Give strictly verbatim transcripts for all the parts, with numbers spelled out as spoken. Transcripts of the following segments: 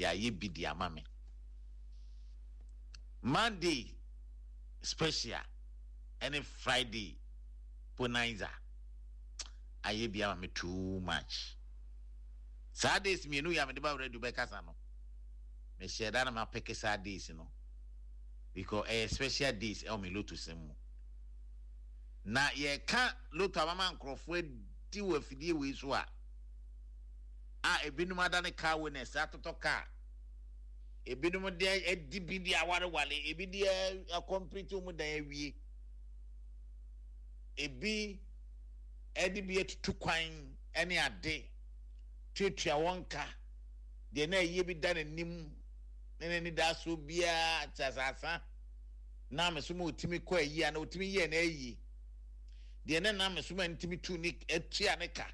Ayɛ bi de ama me. Monday special ɛne Friday bonanza ayɛ bi ama me too much. Saa days mmienu yi a mede ba radio bɛkasa no, mehyɛ da na mapɛke saa days no because ɛyɛ special days ɛwɔ me lotto sɛm mu. Na yɛka lotto amama nkurɔfoɔ adi wɔ afidie wei so a a ebinom adane car winners, atotɔ car, ebinom de adi bi de awarewale, ebi de akɔmplete wɔn dan awie, ebi ɛde bi atutu kwan ɛne ade tuatua wɔn ka deɛ na ɛyie bi da n'anim ne n'ani da so biara te asasa na ame so ma otimi kɔ ayi a na otimi yɛ na ayi deɛ na nam so ma ntimi tu ne atua ne ka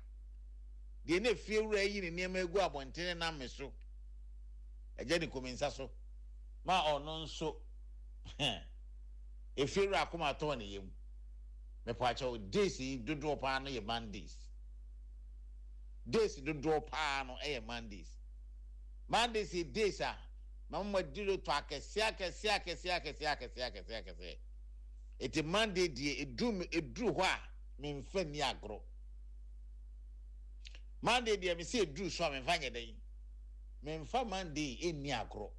deɛ na efie wura yi ne nneɛma egu abɔnten nam so ɛgya ne kɔmi nsa so ma ɔno nso efie wura akoma atɔ ne yam. Mepɔ akyɛw, days yi dodoɔ paa no yɛ Mondays. Days dodoɔ paa no ɛyɛ Mondays. Mondays yɛ days a mama di lotto akɛseɛ akɛseɛ akɛseɛ akɛseɛ akɛseɛ akɛseɛ akɛseɛ. Eti Monday deɛ, eduru eduru hɔ a, memfa ni agorɔ. Monday deɛ, mesi eduru so a, memfa nyɛ dɛ, memfa Monday enni agorɔ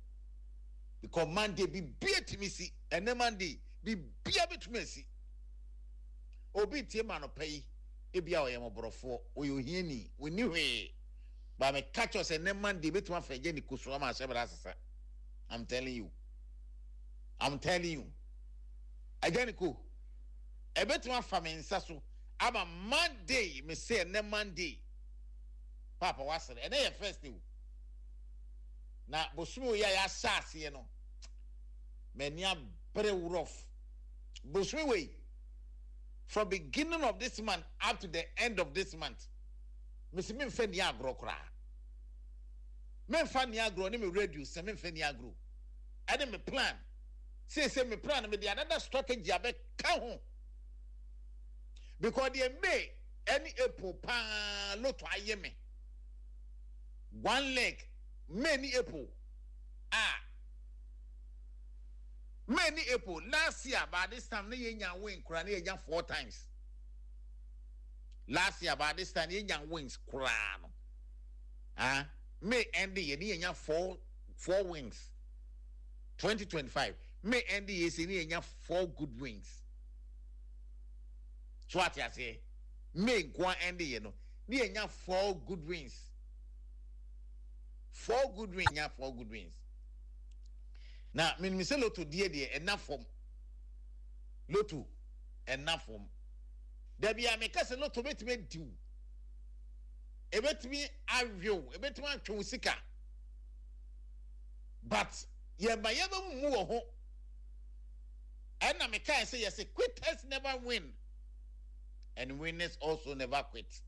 because Monday bibia tumi si. Ɛnɛ Monday bibia betumi asi. Obi tie ma no pɛ yi, ebi a ɔyɛ mɔborɔfoɔ, ɔyɛ ohiani, ɔni hwee ba, meka kyerɛ sɛ ɛnɛ Monday betumi afa agya ne koso ama ahyɛ bɛrɛ asesa. I'm telling you, I'm telling you, agya ne ko ɛbɛtumi afa me nsa so ama Monday. Me sɛ ɛnɛ Monday paapa wasere, ɛnɛ yɛ first o, na bosomi yi a yɛahyɛ aseɛ no, m'ani abere worɔf. Bosomi wei, from beginning of this month up to the end of this month, mesi memfa ni agorɔ koraa, memfa ni agorɔ ne me radio sɛ memfa ni agorɔ ɛne me plan. Seesei me plan, me de another strategy abɛka ho because deɛ May ɛne April paa lotto ayɛ me one leg, May ne April a, May ne April last year by this time ne yɛnya win koraa ne yɛnya four times. Last year by this time yɛnya wins koraa no, ah, May ɛnde yɛ ne yɛnya four four wins. twenty twenty-five May ɛnde yɛ sɛ ne yɛnya four good wins so. Ate aseɛ? May nkoa ɛnde yɛ no ne yɛnya four good wins, four good wins, nya four good wins. Na menim sɛ lotto deɛ deɛ ɛna fam, lotto ɛna fam. Dabi a meka sɛ lotto bɛtumi adiw, ebɛtumi awew, ebɛtumi atwe wo sika, but yɛma yɛbɛ mu wɔ ho. Ɛna meka sɛ yɛsɛ quitters never win and winners also never quit.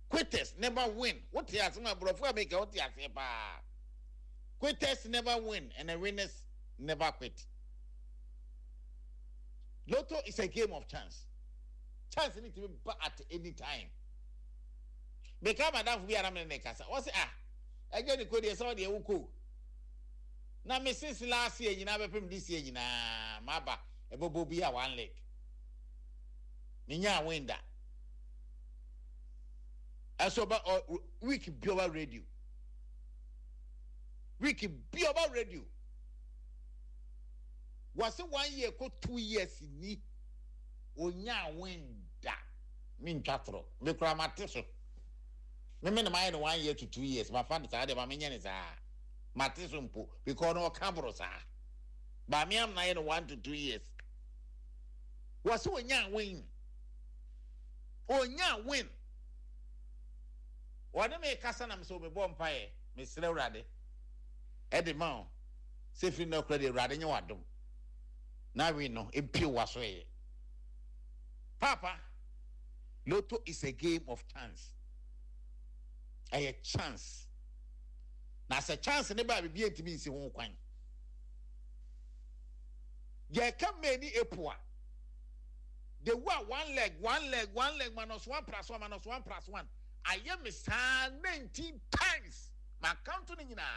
Quitters never win. Wote asɛm aborɔfo a meka, wote aseɛ paa. Quitters never win and the winners never quit. Lotto is a game of chance. Chance need to be ba at any time. Meka madamfo bi a na mene ne kasa, wɔsɛ ah, ɛgya ne ko deɛ sɛ ɔdeɛ wokɔ na me since last year nyinaa bɛpem this year nyinaa, maba ɛbɛbɔ bi a one leg menya win da. Ɛsɛ ɔba ɔ week bi ɔba radio, week bi ɔba radio, wɔsi one year kɔ two years ni onya win da. Mi ntwa torɔ, mi kura ma te so. Mi mi na ma yɛ no one year to two years, ma fa ne saa deɛ ma mi nyɛ ne saa, ma te so mpo because ɔno ɔka boro saa ba, mi am na yɛ no one to two years. Wɔsi onya win, onya win. Wɔde mi kasa na mi sɛ omi bɔ mpaeɛ, mi srɛ Awurade ɛde ma o sɛ firi na kura de Awurade nye wadom na win no mpie wa so. Yɛ papa, lotto is a game of chance. Ɛyɛ chance, na sɛ chance ne ba, bibi ntumi nsi ho kwan. Yɛka May ne April a, the way one leg, one leg, one leg, minus one, plus one, minus one, plus one ayɛ me saa nineteen times. Ma count ne nyinaa.